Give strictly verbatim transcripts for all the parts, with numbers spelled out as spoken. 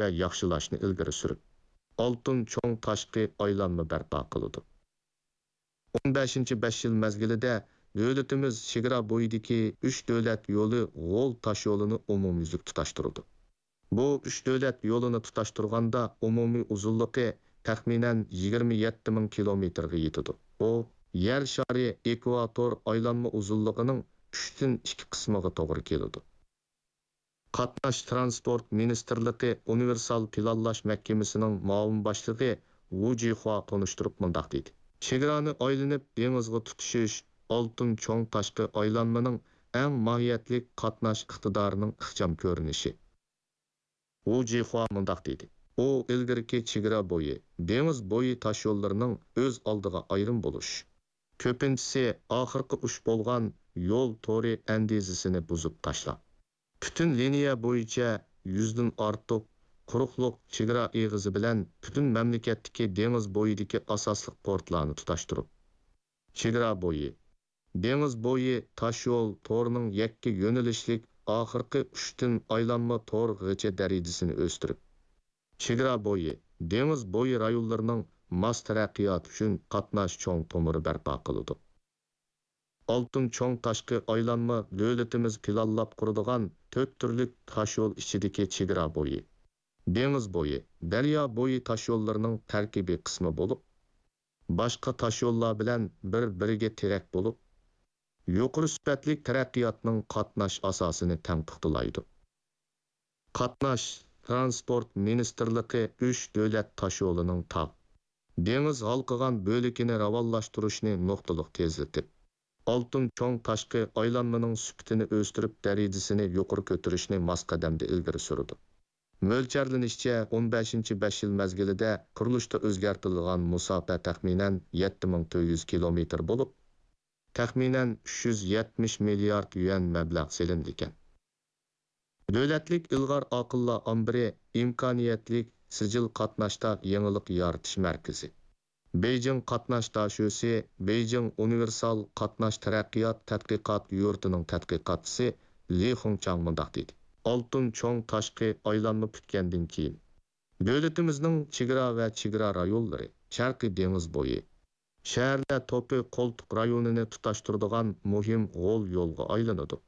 ۋە ياخشىلاشنى ئىلگىرى سۈرۈپ، ئالتۇن چوڭ تاشقى ئايلانما بەرپا قىلىدۇ. ئون بەشىنچى بەش يىل مەزگىلىدە دۆلىتىمىز چېگرا بويىدىكى ئۈچ دۆلەت يولى غول تاشيولىنى ئومۇميۈزلۈك تۇتاشتۇرىدۇ. بۇ ئۈچ دۆلەت يولىنى تۇتاشتۇرغاندا ئومۇمىي ئۇزۇنلۇقى تەخمىنەن يىگىرمە يەتتە مىڭ كىلومېتىرغا يېتىدۇ. بۇ يەر شارى ئېكۋاتور ئايلانما ئۇزۇنلۇقىنىڭ ئۈچتىن ئىككى قىسمىغا توغرا كېلىدۇ. قاتناش تىرانسپورت مىنىستىرلىقى ئۇنىۋېرسال پىلانلاش مەھكىمىسىنىڭ مۇئاۋىن باشلىقى ۋۇ جىخۇا تونۇشتۇرۇپ مۇنداق دېدى: چېگرانى ئايلىنىپ دېڭىزغا تۇتىشىش ئالتۇن چوڭ تاشقى ئايلانمىنىڭ ئەڭ ماھىيەتلىك قاتناش ئىقتىدارىنىڭ ئىخچام كۆرۈنۈشى. ۋۇ جىخۇا مۇنداق دېدى: ئۇ ئىلگىرىكى چېگرا بويى، دېڭىز بويى تاشيوللىرىنىڭ ئۆز ئالدىغا ئايرىم بولۇش، كۆپىنچىسى ئاخىرقى ئۇچ بولغان يول تورى ئەندىزىسىنى بۇزۇپ تاشلاپ، پۈتۈن لىنىيە بويىچە يۈزدىن ئارتۇق قۇرۇقلۇق چېگرا ئېغىزى بىلەن پۈتۈن مەملىكەتتىكى دېڭىز بويىدىكى ئاساسلىق پورتلارنى تۇتاشتۇرۇپ، چېگرا بويى، دېڭىز بويى تاشيول تورىنىڭ يەككە يۆنىلىشلىك ئاخىرقى ئۇچتىن ئايلانما تورغىچە دەرىجىسىنى ئۆستۈرۈپ، چېگرا بويى، دېڭىز بويى رايونلىرىنىڭ ماس تەرەققىياتى ئۈچۈن قاتناش چوڭ تومۇرى بەرپا قىلىدۇ. ئالتۇن چوڭ تاشقى ئايلانما دۆلىتىمىز پىلانلاپ قۇرىدىغان تۆت تۈرلۈك تاشيول ئىچىدىكى چېگرا بويى، دېڭىز بويى، دەريا بويى تاشيوللىرىنىڭ تەركىبىي قىسمى بولۇپ، باشقا تاشيوللار بىلەن بىر-بىرىگە تىرەك بولۇپ، يۇقىرى سۈپەتلىك تەرەققىياتنىڭ قاتناش ئاساسىنى تەڭ پۇختىلايدۇ. قاتناش تىرانسپورت مىنىستىرلىقى ئۈچ دۆلەت تاشيولىنىڭ تاغ، دېڭىز ھالقىغان بۆلىكىنى راۋانلاشتۇرۇشنى نۇقتىلىق تېزلىتىپ، ئالتۇن چوڭ تاشقى ئايلانمىنىڭ سۈپىتىنى ئۆستۈرۈپ، دەرىجىسىنى يۇقىرى كۆتۈرۈشنى ماس قەدەمدە ئىلگىرى سۈرىدۇ. مۆلچەرلىنىشىچە، ئون بەشىنچى بەش يىل مەزگىلىدە قۇرۇلۇشتا ئۆزگەرتىلىدىغان مۇساپە تەخمىنەن يەتتە مىڭ تۆت يۈز كىلومېتىر بولۇپ، تەخمىنەن ئۈچ يۈز يەتمىش مىليارد يۈەن مەبلەغ سېلىنىدىكەن. دۆلەتلىك ئىلغار ئاقىللار ئامبىرى، ئىمكانىيەتلىك سىجىل قاتناشتا يېڭىلىق يارىتىش مەركىزى، بېيجىڭ قاتناش داشۆسى، بېيجىڭ ئۇنىۋېرسال قاتناش تەرەققىيات تەتقىقات يۇرتىنىڭ تەتقىقاتچىسى لى خۇڭچاڭ مۇنداق دېدى: ئالتۇن چوڭ تاشقى ئايلانما پۈتكەندىن كېيىن، دۆلىتىمىزنىڭ چېگرا ۋە چېگرا رايونلىرى، شەرقىي دېڭىز بويى، شەھەرلەر توپى قولتۇق رايونىنى تۇتاشتۇرىدىغان مۇھىم غول يولغا ئايلىنىدۇ.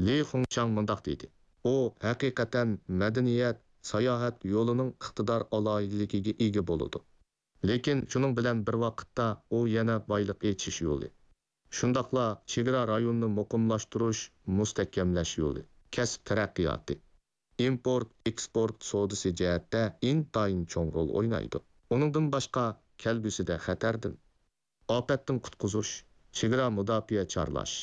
لى خۇڭچاڭ مۇنداق دېدى: ئۇ ھەقىقەتەن مەدەنىيەت، ساياھەت يولىنىڭ ئىقتىدار ئالاھىدىلىكىگە ئىگە بولىدۇ. لېكىن شۇنىڭ بىلەن بىر ۋاقىتتا ئۇ يەنە بايلىق ئېچىش يولى، شۇنداقلا چېگرا رايونىنى مۇقىملاشتۇرۇش، مۇستەھكەملەش يولى، كەسىپ تەرەققىياتى، ئىمپورت، ئېكسپورت سودىسى جەھەتتە ئىنتايىن چوڭ رول ئوينايدۇ. ئۇنىڭدىن باشقا، كەلگۈسىدە خەتەردىن، ئاپەتتىن قۇتقۇزۇش، چېگرا مۇداپىئە چارلاش،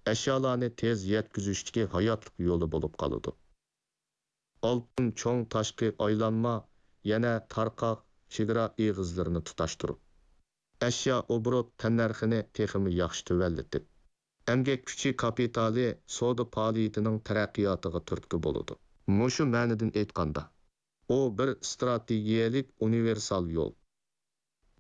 ئەشيالارنى تېز يەتكۈزۈشتىكى ھاياتلىق يولى بولۇپ قالىدۇ. ئالتۇن چوڭ تاشقى ئايلانما يەنە تارقاق چېگرا ئېغىزلىرىنى تۇتاشتۇرۇپ، ئەشيا ئوبوروت تەننەرخىنى تېخىمۇ ياخشى تۆۋەنلىتىپ، ئەمگەك كۈچى كاپىتالى سودا پائالىيىتىنىڭ تەرەققىياتىغا تۈرتكە بولىدۇ. مۇشۇ مەنىدىن ئېيتقاندا، ئۇ بىر ئىستراتېگىيەلىك ئۇنىۋېرسال يول،